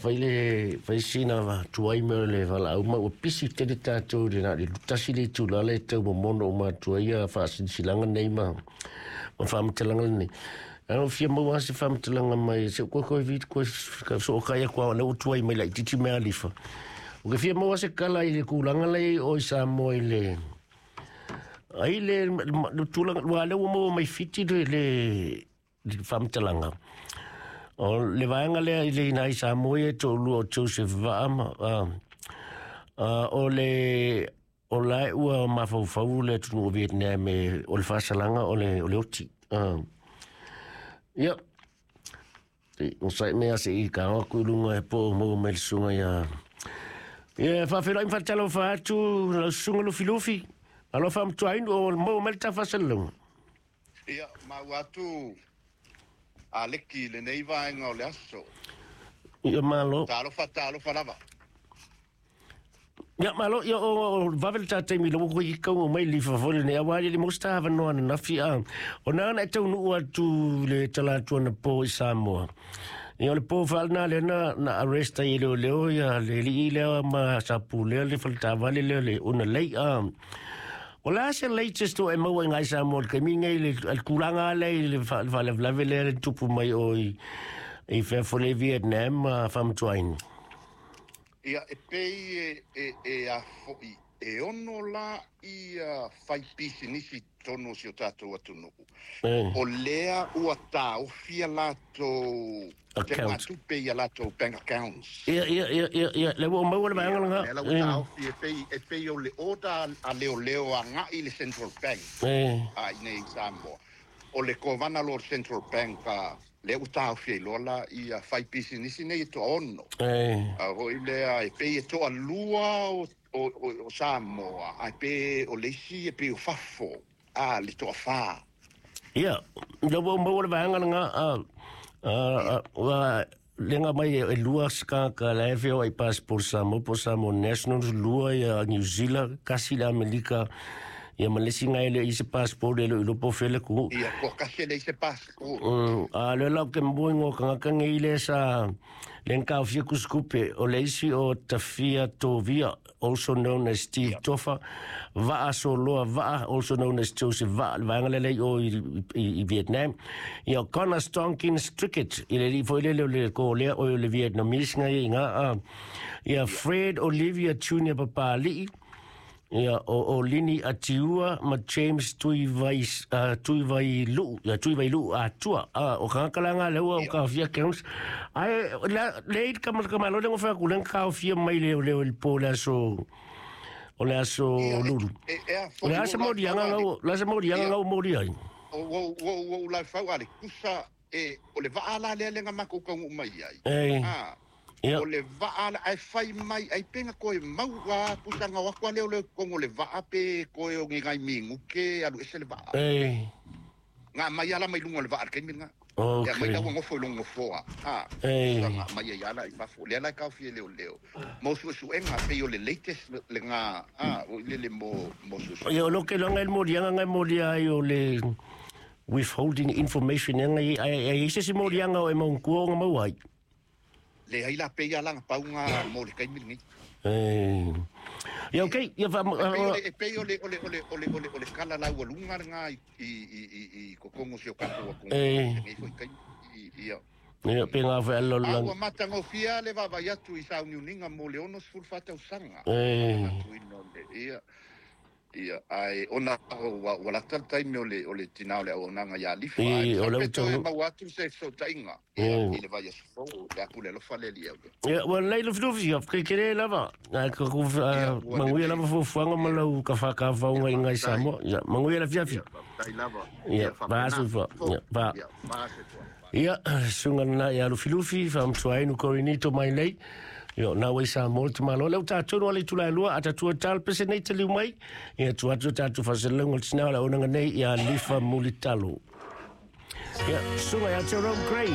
Fai le fai sina tuai me le valaau ma ua pisi tele tatou le na le tasi le itula le tau momono uma atu ai ia faasilasilaga nei ma ma faamatalaga lenei. Ae ua fia maua lava se faamatalaga mai se koe koe vi koe sookai atu lava o lea ua tuai mai laitiiti mea alifa. Ou te fia maua se tala i le tulaga la i ai oe i Samoa i le ai le le tulaga aua o lea ua maua mai Fiti le le le faamatalaga. O le vaega lea i le ina i Samoa ia e toalua o Joseph Vaa ma, o le o la e ua mafaufau le atunuu o Vietnam e, o le faasalaga o le, o le oti. Ia, o sai mea se i ka atu i luga e po o maua mai le susuga ia. Ia, faafeiloai ma faatalofa atu lau susuga Lufilufi. Alofa faamatuainu o maua mai le ta faasalalauga. Ia, maua atu a Leki i lenei vaega o le aso. Ia malo. Talofa, talofa lava. Ia malo, ia o vave le ta taimi lo ko i kau mai li fa foi nei awa le mosta avanoa na nafi a. O na na e taunuu atu le tala atu ana po i Samoa. Ia o le po faalena lea na na arrest ai e leoleo ia le alii lea ma sa pulea le faletaavale lea le una lei a. O le a se latest o e maua i ngai Samoa i le taimi nei le le tulaga lea i le faalavelave lea le tupu mai o i i fea foi le Vietnam ma Faamatuaina. Ia, e pei e, e, e a foi, e ono la ia fai pisinisi i totonu o si o tatou atunuu. O lea ua taofi a latou Account. Tupe i a latou bank accounts. Ia, ia, ia, ia, ia, lea ua ou maua le vaega lena. Lea la ua taofi e pei, e pei o le order a leoleo agai i le Central Bank a i inei i Samoa. O le kovana loa o le Central Bank a lea ua taofi ai loa la ia faipisinisi nei e toaono. A foi lea e pei e toalua o, o, o Samoa ae pe o le isi e pei o fafo a le toafa. Ia, lea ua ou maua le vaega lena, ua lega mai e lua se tagata la e feoai passport Samoa po o Samoa Nationals, lua ia New Zealand, tasi le Amerika, ia ma le isi na e le i se passport e le o iloa po o fea le atunuu. Ia, toatasi e leai se passport. A o lea la ou te mua i ngo tagata nei lea sa lea na taofia tusitupe, o le isi o Tafia Tovia, also known as Steve yeah. Tofa, Vaa Soloa Vaa, also known as Joseph Vaa, le vaega lea i o i, i, i Vietnam. Ia, Connor Stonkins Trickett, i le alii foi lele o le Kōlea, o le Vietnamese nga ia i ngā, ia, Fred Olivia Junior Papali'i, ia, o, o Lini Atiua ma James Tuivai, Tuivai Lu'u, ia, Tuivai Lu'u Atua, o tagata la ngā lea ua o taofia accounts. Ae, la, le i ka ka malo le ngofa ku le taofia mai le le le po le aso o le aso lulu. O le asa molianga ngau, le asa molianga ngau moli ai. O o o o la fau ale kusa e o le vaa la lea le nga makou taunuu mai ai. Ah. Ia. O le vaa la ae fai mai ai pe na toe mau a pusa na o atu a lea o le totonu o le vaa pe toe o ni nai minute alu ese le vaa. Nga mai ala mai luga o le vaa i le taimi lena. Okay. Ia mai la ua nofo i lona nofoa. A, Ei. Pusa nga mai ai ala i fafo. Lea la e taofi e leoleo. Mo suesuega pei o le latest lena a o i lele mo mo suesuega. Ia o lo ke loga e le moliaga nga e molia ai o le withholding information ea nga i ai ai se isi moliaga o e maungtua o nga maua ai. Leai la pei a la na pau nga mo le taimi lenei. Ei. Ia okay, ia fa E pei o le e pei o le o le o le o le o le o le kala laualuga lena i i i i i totonu o si o tatou atunuu i lenei foi taimi. Ia. Ia pe nga foi ala A lang. ua matagofie lava le vaavaai atu i sauniuniga mo le 64 tausaga. Ei. Manatuina o le ia. Ia, ae ona ua ua lata le taimi o le o le tinā o le auaunaga ia Alifa, ae Ei, o masalo le pe u toe taunuu. maua atu se fesootaiga, ia, i le vaiaso fou, le a pule alofa le Alii au ia. Ia, ua lelei Lufilufi, ia, ke kele lava. Ai, ka ku, Ia, ua manuia lelei. lava fuafuaga ma Ia, lau kafakafaoga ia, i ngai faafetai. Samoa. Ia, manuia le afiafi. Ia, faafetai lava. Ia, Ia, va faapena. soifua. Ia, Fou. va. Ia, va soifua. Va. Ia, susuga lena ia Lufilufi, faamatuainu Korinito mai nei. Ia, o na ua i Samoa le tamaloa. Lea ua tatou no ale itula e lua, a tatou e tala pese nei taliu mai. Ia, tuu atu tatou faasalalauga o le tinā o le auaunaga nei ia Lifa Mulitalo. Ia, susuga ia Jerome Gray.